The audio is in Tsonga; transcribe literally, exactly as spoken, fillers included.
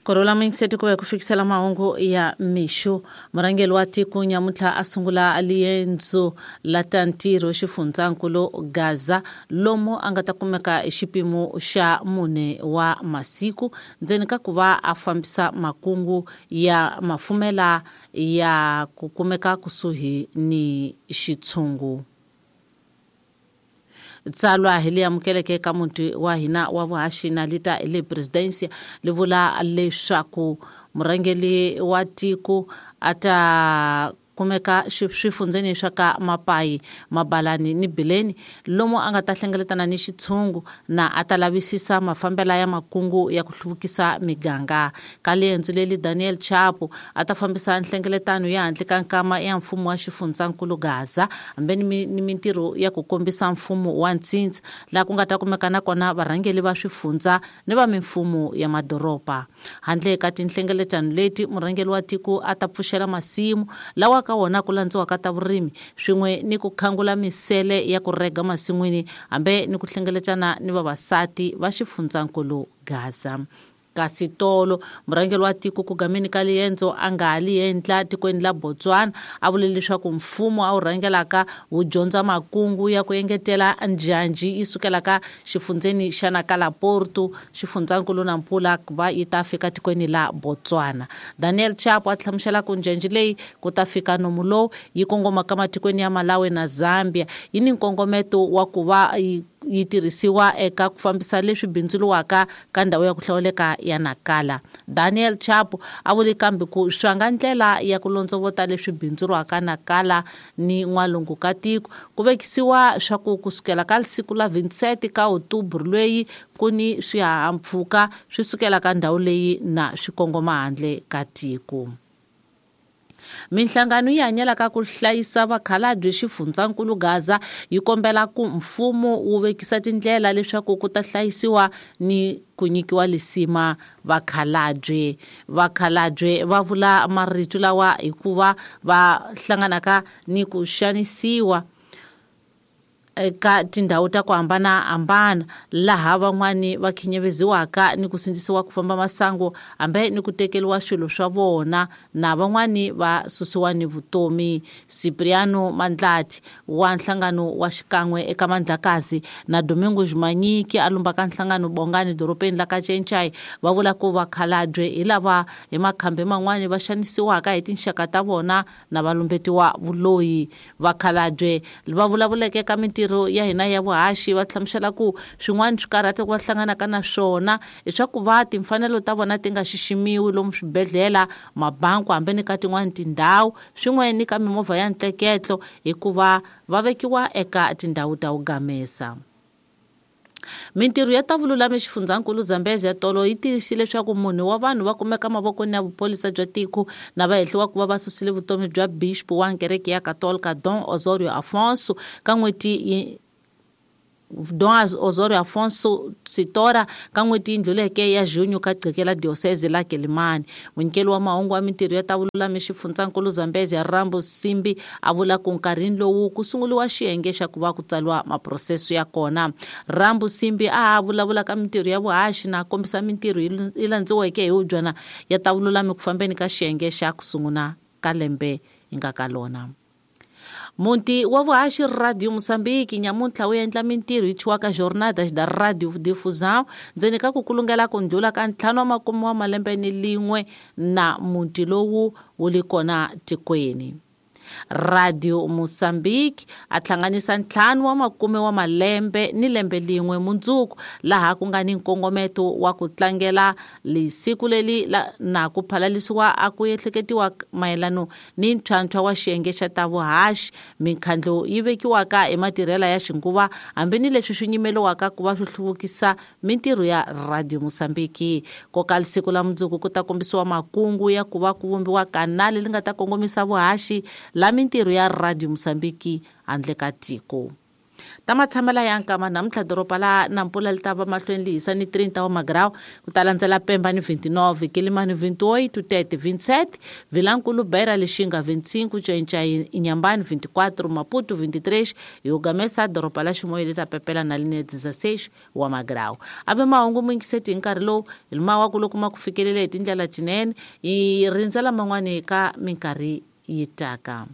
Korola muyingiseti ku va ku fikisela mahungu ya mixo. Murhangeri wa tiko nyamuntlha a sungula liendzo la ta ntirho xifundzankulu Gaza lomu a nga ta kumeka hi xipimo xa mune wa masiku ndzeni ka ku va a fambisa makungu ya mafumela ya ku kumeka kusuhi ni xitshungu. Tsalwa hi leyi amukeleke ka muti wa hina wa vuhaxi na lita le presidencia li vula leswaku murhangeri wa tiko a ta kumeka swifundzeni swa ka Mapayi, Mabalani ni Bileni lomu a nga ta hlengeletana ni xitshungu na a ta lavisisa mafambela ya makungu ya ku hluvukisa miganga. Ka liendzo leli Daniel Chapo a ta fambisa nhlengeletano ya handle ka nkama ya mfumo wa xifundzankulu Gaza hambi ni, ni mintirho ya ku kombisa mfumo wa ntsindza laha ku nga ta kumeka na kona varhangeri va swifundza ni va mimfumo ya madoroba. Handle ka tinhlengeletano leti murhangeri wa tiko a ta pfuxela masimu lawa ka wona ku landziwaka ta vurimi swin'we ni ku khangula misele ya ku rega masin'wini hambi ni ku hlengeletana ni vavasati va xifundzankulu Gaza. Kasi tolo murhangeri wa tiko ku gameni ka liendzo a nga ha li endla tikweni la Botswana a vule leswaku mfumo a wu rhangelaka wu dyondza makungu ya ku engetela njhanji yi sukelaka xifundzeni xa Nakala Porto xifundzankulu Nampula ku va yi ta fika tikweni la Botswana. Daniel Chapo a hlamusela ku njhanji leyi ku ta fika nomu lowu yi kongomaka matikweni ya Malawi na Zambia yi ni nkongometo wa ku va yi yi tirhisiwa eka ku fambisa leswi bindzuriwaka ka ndhawu ya ku hlawuleka ya Nakala. Daniel Chapo a vule kambe ku swanga ndlela ya ku londzovota leswi bindzuriwaka Nakala ni n'walungu ka tiko ku vekisiwa swa ku kusukela ka siku la twenty-seven ka October lweyi ku ni swihahampfhuka swi sukela ka ndhawu leyi na swi kongoma handle ka tiko. Minhlangano yi hanyelaka ku hlayisa vakhalabye xifundzankulu Gaza yi kombela ku mfumo wu vekisa tindlela leswaku ku ta hlayisiwa ni ku nyikiwa lisima vakhalabye. Vakhalabye va vula marito lawa hikuva va hlanganaka ni ku xanisiwa eka tindhawu ta ku hambanahambana laha van'wani va khinyeveziwaka ni ku sindzisiwa ku famba masangu hambi ni ku tekeriwa swilo swa vona na van'wani va susiwa ni vutomi. Cipriano Mandlati wa nhlangano wa xikan'we eka Mandlakazi na Domingo Jumanyiki a lumbaka nhlangano Bongani dorobeni la ka Tšentšai va vula ku vakhalabye hi lava hi makhambi man'wani va xanisiwaka hi tinxaka ta vona na va lumbetiwa vuloyi. Vakhalabye va vulavuleke ka mintirho ya hina ya vuhaxi va hlamusela ku swin'wana swikarhati va hlanganaka na swona i swa ku va timfanelo ta vona ti nga xiximiwi lomu swibedhlele, mabanku hambi ni ka tin'wani tindhawu swin'we ni ka mimovha ya ntleketlo hikuva va vekiwa eka tindhawu ta wugamesa. Mintirho ya ta vululami xifundzankulu Zambezi ya tolo yi tiyisile leswaku munhu wa vanhu va kumeka mavokweni ya vuphorisa bya tiko na va hehliwa ku va va susile vutomi bya bishop wa kereke ya Katolika Dom Osorio Afonso ka n'hweti Dom Osorio Afonso Sitora ka n'hweti yi ndluleke ya Junho ka qhekela diocese la Quelimane. Munyikeli wa mahungu wa mintirho ya ta vululami xifundzankulu Zambezi ya Rambo Simbi a vula ku nkarhini lowu ku sunguriwa xiyenge xa ku va ku tsariwa maproseso ya kona. Rambo Simbi a vulavula ka mintirho ya vuhaxi na kombisa mintirho yi landziweke hi vubyana ya ta vululami ku fambeni ka xiyenge xa ku sungula ka lembe hi nga ka lona. Muti wa vuhaxi Radio Moçambique nyamuntlha wu endla mintirho yi thyiwaka Jornadas da Radio Difusão ndzeni ka ku kulungela ku ndlula ka ntlhanu wa makume wa malembe ni lin'we na muti lowu wu li kona tikweni. Radio Moçambique a hlanganisa ntlhanu wa makume wa malembe ni lembe lin'we mundzuku laha ku nga ni nkongometo wa ku tlangela lisiku leli la, na ku phalalisiwa a ku ehleketiwa mayelano ni ntlhantlha wa xiyenge xa ta vuhaxi minkhandlo yi vekiwaka hi matirhela ya xinguva hambi ni leswi swi nyimeliwaka ku va swi hluvukisa mintirho ya Radio Moçambique. Koka lisiku la mundzuku ku ta kombisiwa makungu ya ku va ku vumbiwa kanali li nga ta kongomisa vuhaxi la mintirho ya Radio Moçambique handle ka tiko. Ta matshamela ya nkama namuntlha doroba la Nampula li ta va mahlweni li hisa ni trinta wa magrau, ku ta landzela Pemba ni vinte e nove, Quelimane vinte e oito, Tete vinte e sete, Vilankulu, Beira, Lixinga vinte e cinco, Ncainca, Inhambane vinte e quatro, Maputo vinte e três e o Gamesa doroba la Chimoio li ta pepela na line dezesseis wa magrau. Ave mahungu muyingiseti hi nkarhi lowu hi mawaku loko ma ku fikelele hi tindlela tinene, hi rindzela man'wani ka minkarhi yi taka.